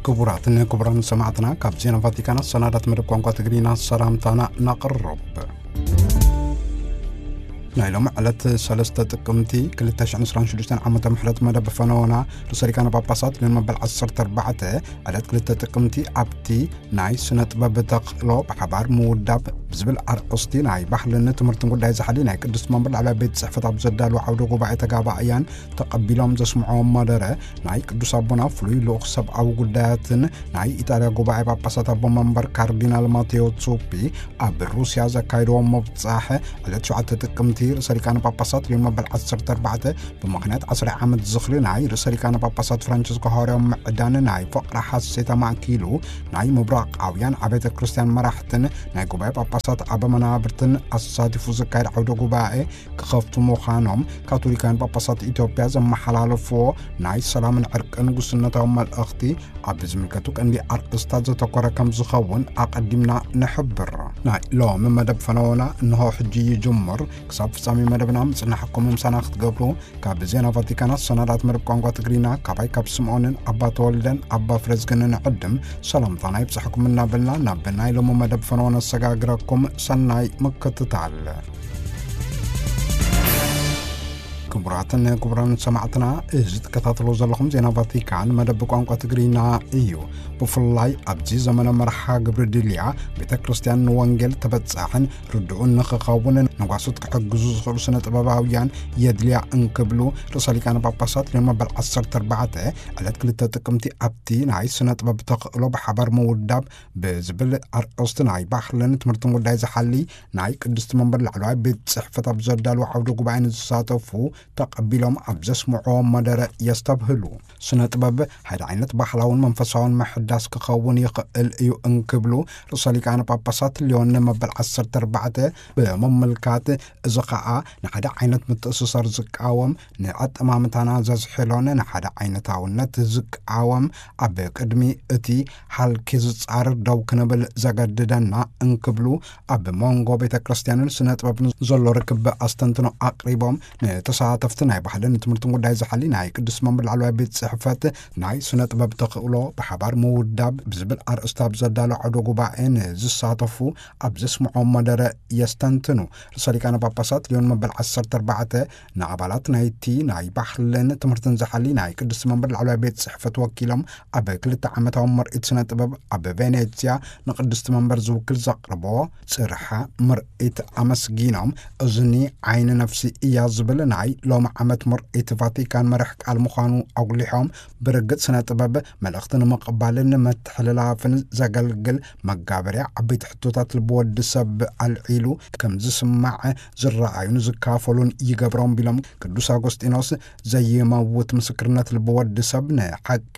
ክቡራትን ክቡራን ሰማዕትና፣ ካብ ዜና ቫቲካን ኣሰናዳት መደብ ቋንቋ ትግርኛ ሰላምታና ነቕርብ። ናይ ሎሚ ዕለት ሰለስተ ጥቅምቲ ክልተ ሽሕን ዕስራን ሽዱሽተን ዓመተ ምሕረት መደብ ፈነወና ርእሰ ሊቃነ ጳጳሳት ሊዮን መበል ዓሰርተ ኣርባዕተ ዕለት ክልተ ጥቅምቲ ኣብቲ ናይ ስነ ጥበብ ተኽእሎ ብሓባር ምውዳብ ብዝብል ኣርእስቲ ናይ ባህልን ትምህርትን ጉዳይ ዝሓሊ ናይ ቅድስት መንበር ላዕለዋይ ቤት ጽሕፈት ኣብ ዘዳለዎ ዓውደ ጉባኤ ተጋባእያን ተቐቢሎም ዘስምዕዎ መደረ ናይ ቅዱስ ኣቦና ፍሉይ ልኡኽ ሰብኣዊ ጉዳያትን ናይ ኢጣልያ ጉባኤ ጳጳሳት ኣቦ መንበር ካርዲናል ማቴዎ ዙፒ ኣብ ሩስያ ዘካየድዎ ምብጻሕ ዕለት ሸውዓተ ጥቅምቲ ርእሰ ሊቃነ ጳጳሳት ሊዮን መበል ዓሰርተ ኣርባዕተ ብምኽንያት ዓስራይ ዓመት ዝኽሪ ናይ ርእሰ ሊቃነ ጳጳሳት ፍራንቸስኮ ሃዋርያዊ ምዕዳን ናይ ፍቕሪ ሓሴት ኣማእኪሉ ናይ ምብራቓውያን ኣብያተ ክርስቲያን መራሕትን ናይ ጉባኤ ጳጳሳት ኣበ መናብርትን ኣሳቲፉ ዝካየድ ዓውደ ጉባኤ ክኸፍቱ ምዃኖም ካቶሊካውያን ጳጳሳት ኢትዮጵያ ዘመሓላለፍዎ ናይ ሰላምን ዕርቅን ጉስነታዊ መልእኽቲ ኣብ ዝምልከቱ ቀንዲ ኣርእስታት ዘተኮረ ከም ዝኸውን ኣቐዲምና ንሕብር። ናይ ሎሚ መደብ ፈነወና እንሆ ሕጂ ይጅምር። ክሳብ ፍጻሜ መደብና ምጽናሕኩም ምሳና ክትገብሩ ካብ ዜና ቫቲካን ኣሰናዳት መደብ ቋንቋ ትግርኛ ካባይ ካብ ስምዖንን ኣባ ተወልደን ኣባ ፍረዝግንን ዕድም ሰላምታና ይብጻሕኩም እናበልና ናብ ናይ ሎሚ መደብ ፈነወ ነሰጋግረኩም። ሰናይ ምክትታል። ክቡራትን ክቡራን ሰማዕትና፣ እዚ ትከታተሉ ዘለኹም ዜና ቫቲካን መደብ ቋንቋ ትግርኛ እዩ። ብፍላይ ኣብዚ ዘመነ መርሓ ግብሪ ድልያ ቤተ ክርስቲያን ንወንጌል ተበጻሕን ርድኡን ንኽኸውን ንጓሶት ክሕግዙ ዝኽእሉ ስነ ጥበባውያን የድልያ እንክብሉ ርእሰ ሊቃነ ጳጳሳት ሊዮን መበል ዓሰርተ ኣርባዕተ ዕለት ክልተ ጥቅምቲ ኣብቲ ናይ ስነ ጥበብ ተኽእሎ ብሓባር ምውዳብ ብዝብል ኣርእስቲ ናይ ባህልን ትምህርትን ጉዳይ ዝሓሊ ናይ ቅድስቲ መንበር ላዕለዋይ ቤት ጽሕፈት ኣብ ዘዳለዎ ዓውደ ጉባኤ ንዝሳተፉ ተቐቢሎም ኣብ ዘስምዕዎ መደረ የስተብህሉ። ስነ ጥበብ ሓደ ዓይነት ባህላውን መንፈሳውን ምሕዳስ ክኸውን ይኽእል እዩ እንክብሉ ርእሰ ሊቃነ ጳጳሳት ሊዮን መበል ዓሰርተ ኣርባዕተ ብምምልካት፣ እዚ ኸኣ ንሓደ ዓይነት ምትእስሳር ዝቃወም፣ ንኣጠማምታና ዘዝሕሎን ንሓደ ዓይነታውነት ዝቃወም፣ ኣብ ቅድሚ እቲ ሃልኪ ዝጻረር ደው ክንብል ዘገድደና እንክብሉ ኣብ መንጎ ቤተ ክርስቲያንን ስነ ጥበብን ዘሎ ርክብ ኣስተንትኖ ኣቕሪቦም፣ ንተሳተፍቲ ናይ ባህልን ትምህርትን ጉዳይ ዝሓሊ ናይ ቅዱስ መንበር ላዕለዋይ ቤት ጽሕፈት ናይ ስነ ጥበብ ተኽእሎ ብሓባር ምውዳብ ብዝብል ኣርእስቲ ኣብ ዘዳሎ ዓውደ ጉባኤ ንዝሳተፉ ኣብ ዘስምዖ መደረ የስተንትኑ። ርእሰ ሊቃነ ጳጳሳት ሊዮን መበል ዓሰርተ ኣርባዕተ ንኣባላት ናይቲ ናይ ባህልን ትምህርትን ዝሓሊ ናይ ቅዱስ መንበር ላዕለዋይ ቤት ጽሕፈት ወኪሎም ኣብ ክልተ ዓመታዊ ምርኢት ስነ ጥበብ ኣብ ቬኔትስያ ንቅድስቲ መንበር ዝውክል ዘቕርቦ ጽርሓ ምርኢት ኣመስጊኖም፣ እዝኒ ዓይኒ ነፍሲ እያ ዝብል ናይ ሎሚ ዓመት ምርኢት ቫቲካን መርሕ ቃል ምዃኑ ኣጉሊሖም፣ ብርግጽ ስነ ጥበብ መልእኽቲ ንምቕባልን ምትሕልላፍን ዘገልግል መጋበርያ ዓበይቲ ሕቶታት ልቢ ወዲ ሰብ ኣልዒሉ ከም ዝስማዕ ዝረኣዩን ዝካፈሉን ይገብሮም ቢሎም ቅዱስ ኣጎስጢኖስ ዘይመውት ምስክርነት ልቢ ወዲ ሰብ ንሓቂ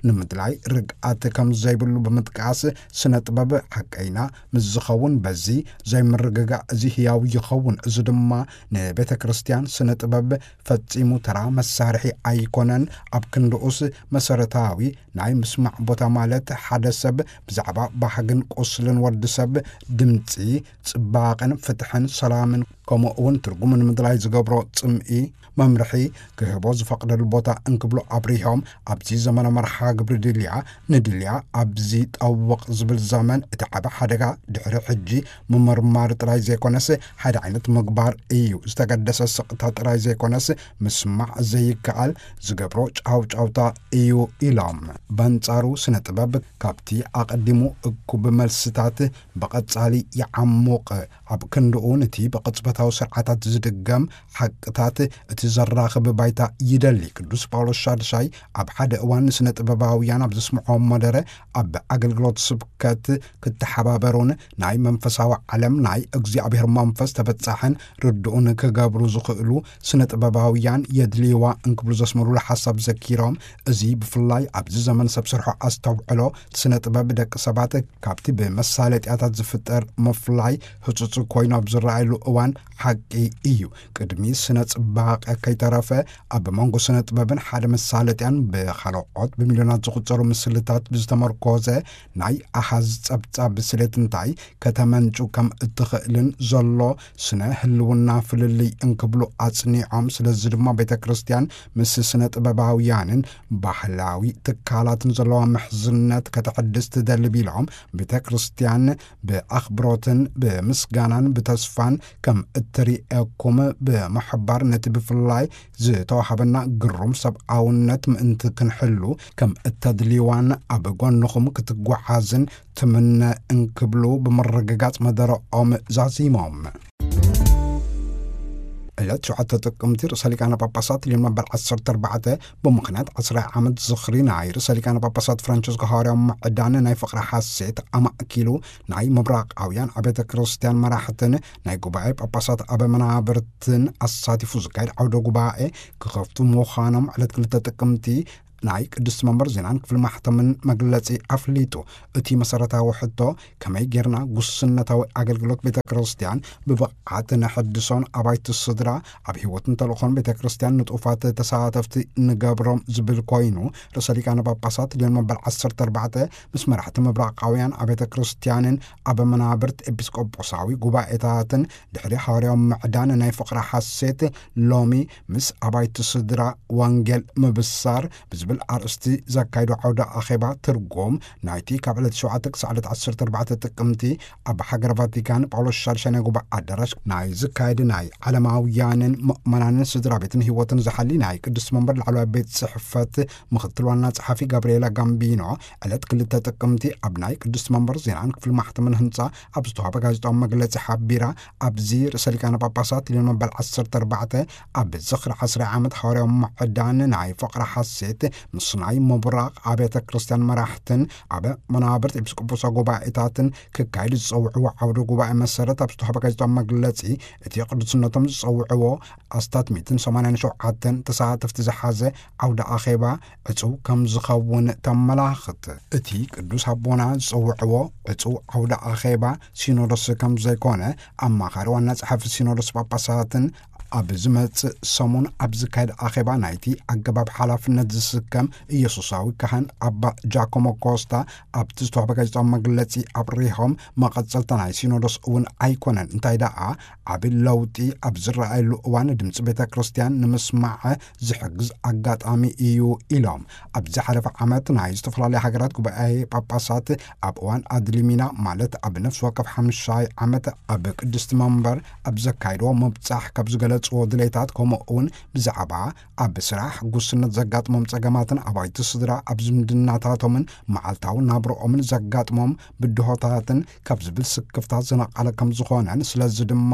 ንምድላይ ርግኣት ከም ዘይብሉ ብምጥቃስ፣ ስነ ጥበብ ሓቀይና ምስ ዝኸውን በዚ ዘይምርግጋእ እዚ ህያው ይኸውን። እዚ ድማ ንቤተ ክርስቲያን ስነ ጥበብ ፈጺሙ ተራ መሳርሒ ኣይኮነን። ኣብ ክንድኡስ መሰረታዊ ናይ ምስማዕ ቦታ ማለት ሓደ ሰብ ብዛዕባ ባህግን ቁስልን ወዲ ሰብ ድምጺ፣ ጽባቐን ፍትሕን ሰላምን ከምኡ እውን ትርጉም ንምድላይ ዝገብሮ ጽምኢ መምርሒ ክህቦ ዝፈቕደሉ ቦታ እንክብሉ ኣብሪሆም፣ ኣብዚ ዘመነ መርሓ ግብሪ ድልያ ንድልያ ኣብዚ ጠውቕ ዝብል ዘመን እቲ ዓቢ ሓደጋ ድሕሪ ሕጂ ምምርማር ጥራይ ዘይኮነስ ሓደ ዓይነት ምግባር እዩ። ዝተገደሰ ስቕታ ጥራይ ዘይኮነስ ምስማዕ ዘይከኣል ዝገብሮ ጫውጫውታ እዩ ኢሎም። በንጻሩ ስነ ጥበብ ካብቲ ኣቐዲሙ እኩብ መልስታት ብቐጻሊ ይዓሙቕ። ኣብ ክንድኡ ነቲ ብቕጽበታዊ ስርዓታት ዝድገም ሓቅታት እቲ ዘራኽብ ባይታ ይደሊ። ቅዱስ ጳውሎስ ሻድሻይ ኣብ ሓደ እዋን ንስነ ጥበባውያን ኣብ ዘስምዖ መደረ ኣብ ኣገልግሎት ስብከት ክተሓባበሩን ናይ መንፈሳዊ ዓለም ናይ እግዚኣብሔር መንፈስ ተበጻሕን ርድኡን ክገብሩ ዝኽእሉ ስነ ጥበባውያን የድልይዋ እንክብሉ ዘስመሩሉ ሓሳብ ዘኪሮም፣ እዚ ብፍላይ ኣብዚ ዘመን ሰብ ስርሖ ኣስተውዕሎ ስነ ጥበብ ደቂ ሰባት ካብቲ ብመሳለጥያታት ዝፍጠር ምፍላይ ህጹጽ ኮይኑ ኣብ ዝረኣየሉ እዋን ሓቂ እዩ። ቅድሚ ስነ ጽባቐ ከይተረፈ፣ ኣብ መንጎ ስነ ጥበብን ሓደ መሳለጥያን ብኻልኦት ብሚልዮናት ዝቑጸሩ ምስልታት ብዝተመርኮዘ ናይ ኣሃዝ ጸብጻብ ብስሌት እንታይ ከተመንጩ ከም እትኽእልን ዘሎ ስነ ህልውና ፍልልይ እንክብሉ ኣጽኒዖም። ስለዚ ድማ ቤተ ክርስቲያን ምስ ስነ ጥበባውያንን ባህላዊ ትካላትን ዘለዋ ምሕዝነት ከተሐድስ ትደሊ ቢሎም፣ ቤተ ክርስቲያን ብኣኽብሮትን ብምስጋናን ብተስፋን ከም እትርእየኩም ብምሕባር፣ ነቲ ብፍላይ ዝተዋሃበና ግሩም ሰብኣውነት ምእንቲ ክንሕሉ ከም እተድልይዋን ኣብ ጎንኹም ክትጓዓዝን ትምነ እንክብሉ ብምርግጋጽ መደረኦም ዛዚሞም። ዕለት ሸውዓተ ጥቅምቲ ርእሰ ሊቃነ ጳጳሳት ሊዮን መበል ዓሰርተ ኣርባዕተ ብምኽንያት ዓስራይ ዓመት ዝኽሪ ናይ ርእሰ ሊቃነ ጳጳሳት ፍራንቸስኮ ሃዋርያዊ ምዕዳን ናይ ፍቕሪ ሓሴት ኣማእኪሉ፣ ናይ ምብራቓውያን ኣብያተ ክርስቲያን መራሕትን ናይ ጉባኤ ጳጳሳት ኣበ መናብርትን ኣሳቲፉ ዝካየድ ዓውደ ጉባኤ ክኸፍቱ ምዃኖም ዕለት ክልተ ጥቅምቲ ናይ ቅድስቲ መንበር ዜናን ክፍሊ ማሕተምን መግለጺ ኣፍሊጡ። እቲ መሰረታዊ ሕቶ፣ ከመይ ጌርና ጉስነታዊ ኣገልግሎት ቤተ ክርስቲያን ብብቕዓት ነሐድሶን ኣባይቲ ስድራ ኣብ ህይወትን ተልእኾን ቤተ ክርስቲያን ንጡፋት ተሳተፍቲ ንገብሮም ዝብል ኮይኑ፣ ርእሰ ሊቃነ ጳጳሳት ሊዮን መበል ዓሰርተ ኣርባዕተ ምስ መራሕቲ ምብራቓውያን ኣብያተ ክርስቲያንን ኣብ መናብርት ኤጲስቆጶሳዊ ጉባኤታትን ድሕሪ ሃዋርያዊ ምዕዳን ናይ ፍቕሪ ሓሴት ሎሚ ምስ ኣባይቲ ስድራ ወንጌል ምብሳር ብዝብል ኣርእስቲ ዘካይዶ ዓውደ ኣኼባ ትርጉም ናይቲ ካብ ዕለት ሸውዓተ ክሳዕ ዕለት ዓሰርተ ኣርባዕተ ጥቅምቲ ኣብ ሃገር ቫቲካን ጳውሎስ ሻድሻይ ናይ ጉባኤ ኣዳራሽ ናይ ዝካየድ ናይ ዓለማውያንን ምእመናንን ስድራ ቤትን ህይወትን ዝሓሊ ናይ ቅድስቲ መንበር ላዕለዋይ ቤት ጽሕፈት ምኽትል ዋና ጸሓፊ ጋብርኤላ ጋምቢኖ ዕለት ክልተ ጥቅምቲ ኣብ ናይ ቅድስቲ መንበር ዜናን ክፍሊ ማሕተምን ህንጻ ኣብ ዝተዋህበ ጋዜጣዊ መግለጺ ሓቢራ፣ ኣብዚ ርእሰ ሊቃነ ጳጳሳት ሊዮን መበል ዓሰርተ ኣርባዕተ ኣብ ዝኽሪ ዓስራይ ዓመት ሃዋርያዊ ምዕዳን ናይ ፍቕሪ ሓሴት ምስ ናይ ምብራቕ ኣብያተ ክርስቲያን መራሕትን ኣብ መናብርት ኤጲስቆጶሳዊ ጉባኤታትን ክካየድ ዝጸውዕዎ ዓውደ ጉባኤ መሰረት ኣብ ዝተዋህበ ጋዜጣዊ መግለጺ፣ እቲ ቅዱስነቶም ዝጸውዕዎ ኣስታት ሚእትን ሰማንያን ሸውዓተን ተሳተፍቲ ዝሓዘ ዓውደ ኣኼባ ዕጹው ከም ዝኸውን ተመላኽት። እቲ ቅዱስ ኣቦና ዝጸውዕዎ ዕጹው ዓውደ ኣኼባ ሲኖዶስ ከም ዘይኮነ ኣማኻሪ ዋና ጸሓፊ ሲኖዶስ ጳጳሳትን ኣብ ዝመጽእ ሰሙን ኣብ ዝካየድ ኣኼባ ናይቲ ኣገባብ ሓላፍነት ዝስከም ኢየሱሳዊ ካህን ኣባ ጃኮሞ ኮስታ ኣብቲ ዝተዋህበ ጋዜጣዊ መግለጺ ኣብሪሆም፣ መቐጸልታ ናይ ሲኖዶስ እውን ኣይኮነን፣ እንታይ ደኣ ዓቢ ለውጢ ኣብ ዝረኣየሉ እዋን ድምጺ ቤተ ክርስቲያን ንምስማዕ ዝሕግዝ ኣጋጣሚ እዩ ኢሎም። ኣብ ዝሓለፈ ዓመት ናይ ዝተፈላለዩ ሃገራት ጉባኤ ጳጳሳት ኣብ እዋን ኣድሊሚና፣ ማለት ኣብ ነፍሲ ወከፍ ሓምሻይ ዓመት ኣብ ቅድስቲ መንበር ኣብ ዘካይድዎ ምብጻሕ ካብ ዝገለጽዎ ድሌታት፣ ከምኡ እውን ብዛዕባ ኣብ ስራሕ ጉስነት ዘጋጥሞም ጸገማትን ኣባይቲ ስድራ ኣብ ዝምድናታቶምን መዓልታዊ ናብርኦምን ዘጋጥሞም ብድሆታትን ካብ ዝብል ስክፍታ ዝነቐለ ከም ዝኾነን፣ ስለዚ ድማ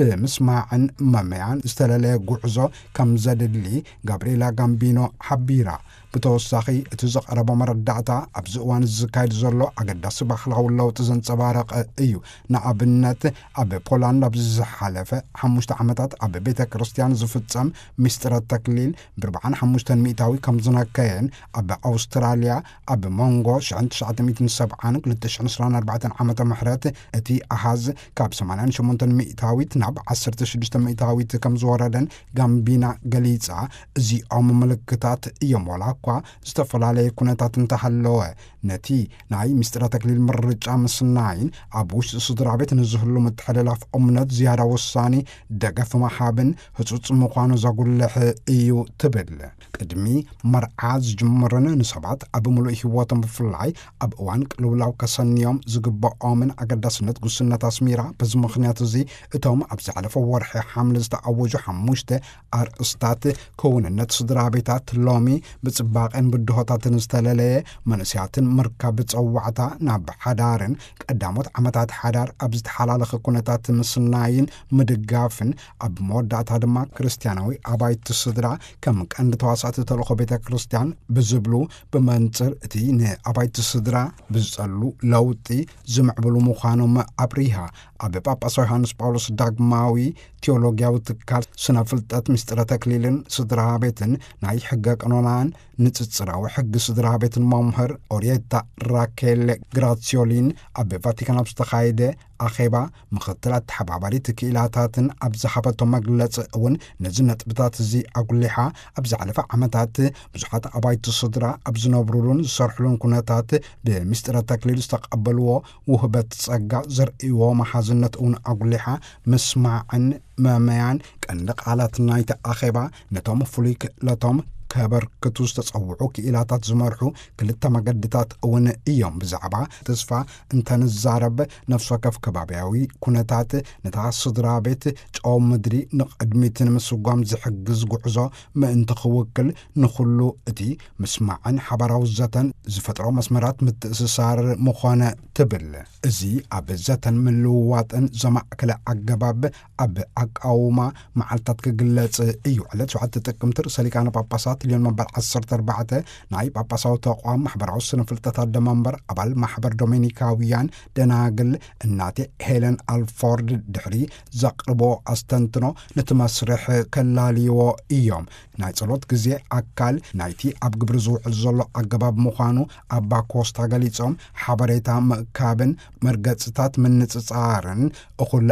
ብምስማዕን መመያን ዝተለለየ ጉዕዞ ከም ዘድሊ ጋብርኤላ ጋምቢኖ ሓቢራ። ብተወሳኺ፣ እቲ ዝቐረበ መረዳእታ ኣብዚ እዋን ዝካየድ ዘሎ ኣገዳሲ ባህላዊ ለውጢ ዘንጸባረቐ እዩ። ንኣብነት፣ ኣብ ፖላንድ ኣብዚ ዝሓለፈ ሓሙሽተ ዓመታት ኣብ ቤተ ክርስቲያን ዝፍጸም ምስጢረ ተክሊል ብርብዓን ሓሙሽተን ሚእታዊ ከም ዝነከየን፣ ኣብ ኣውስትራልያ ኣብ መንጎ ሽሕን ትሽዓተ ሚእትን ሰብዓን ክልተ ሽሕን ዕስራን ኣርባዕተን ዓመተ ምሕረት እቲ ኣሃዝ ካብ ሰማንያን ሸሞንተን ሚእታዊት ናብ ዓሰርተ ሽዱሽተ ሚእታዊት ከም ዝወረደን ጋምቢና ገሊጻ። እዚኦም ምልክታት እዮም፣ ዋላ እኳ ዝተፈላለየ ኩነታት እንተሃለወ። ነቲ ናይ ምስጢረ ተክሊል ምርጫ ምስናይን ኣብ ውሽጢ ስድራ ቤት ንዝህሉ ምትሕልላፍ እምነት ዝያዳ ወሳኒ ደገፍ ምሃብን ህጹጽ ምዃኑ ዘጉልሕ እዩ ትብል። ቅድሚ መርዓ ዝጅምርን ንሰባት ኣብ ምሉእ ህይወቶም ብፍላይ ኣብ እዋን ቅልውላው ከሰንዮም ዝግበኦምን ኣገዳስነት ጉስነት ኣስሚራ፣ በዚ ምኽንያት እዚ እቶም ኣብ ዝሓለፈ ወርሒ ሓምለ ዝተኣወጁ ሓሙሽተ ኣርእስታት ክውንነት ስድራ ቤታት ሎሚ ብጽባቐን ብድሆታትን ዝተለለየ መንእሰያትን ምርካብ ብጸዋዕታ ናብ ሓዳርን ቀዳሞት ዓመታት ሓዳር ኣብ ዝተሓላለኸ ኩነታት ምስናይን ምድጋፍን፣ ኣብ መወዳእታ ድማ ክርስትያናዊ ኣባይቲ ስድራ ከም ቀንዲ ተዋሳእቲ ተልእኾ ቤተ ክርስቲያን ብዝብሉ ብመንጽር እቲ ንኣባይቲ ስድራ ብዝጸሉ ለውጢ ዝምዕብሉ ምዃኖም ኣብሪሃ። ኣብ ጳጳስ ዮሃንስ ጳውሎስ ዳግማዊ ቴዎሎጊያዊ ትካል ስነ ፍልጠት ምስጢረ ተክሊልን ስድራ ቤትን ናይ ሕገ ቀኖናን ንጽጽራዊ ሕጊ ስድራ ቤትን መምህር ኦሪየታ ራኬል ግራሲዮሊን ኣብ ቫቲካን ኣብ ዝተኻየደ ኣኼባ ምኽትል ኣተሓባባሪት ክኢላታትን ኣብ ዝሃበቶ መግለጺ እውን ነዚ ነጥብታት እዚ ኣጉሊሓ፣ ኣብ ዝሓለፈ ዓመታት ብዙሓት ኣባይቲ ስድራ ኣብ ዝነብሩሉን ዝሰርሕሉን ኩነታት ብምስጢረ ተክሊል ዝተቐበልዎ ውህበት ጸጋ ዘርእይዎ መሓዝነት እውን ኣጉሊሓ፣ ምስማዕን መመያን ቀንዲ ቃላት ናይቲ ኣኼባ፣ ነቶም ፍሉይ ክእለቶም ከበርክቱ ዝተጸውዑ ክኢላታት ዝመርሑ ክልተ መገድታት እውን እዮም። ብዛዕባ ተስፋ እንተንዛረብ፣ ነፍሲ ወከፍ ከባብያዊ ኩነታት ነታ ስድራ ቤት ጨው ምድሪ ንቕድሚት ንምስጓም ዝሕግዝ ጉዕዞ ምእንቲ ክውክል፣ ንኹሉ እቲ ምስማዕን ሓባራዊ ዘተን ዝፈጥሮ መስመራት ምትእስሳር ምኾነ ትብል። እዚ ኣብ ዘተን ምልውዋጥን ዘማእከለ ኣገባብ ኣብ ኣቃውማ መዓልታት ክግለጽ እዩ። ዕለት ሸውዓተ ጥቅምቲ ርእሰ ሊቃነ ጳጳሳት ሊዮን መበል ዓሰርተ ኣርባዕተ ናይ ጳጳሳዊ ተቋም ማሕበራዊ ስነ ፍልጠት ኣደመንበር ኣባል ማሕበር ዶሜኒካውያን ደናግል እናቴ ሄለን ኣልፎርድ ድሕሪ ዘቕርቦ ኣስተንትኖ ነቲ መስርሕ ከላልይዎ እዮም። ናይ ጸሎት ግዜ ኣካል ናይቲ ኣብ ግብሪ ዝውዕል ዘሎ ኣገባብ ምዃኑ ኣባ ኮስታ ገሊጾም፣ ሓበሬታ ምእካብን መርገጽታት ምንጽጻርን እኹል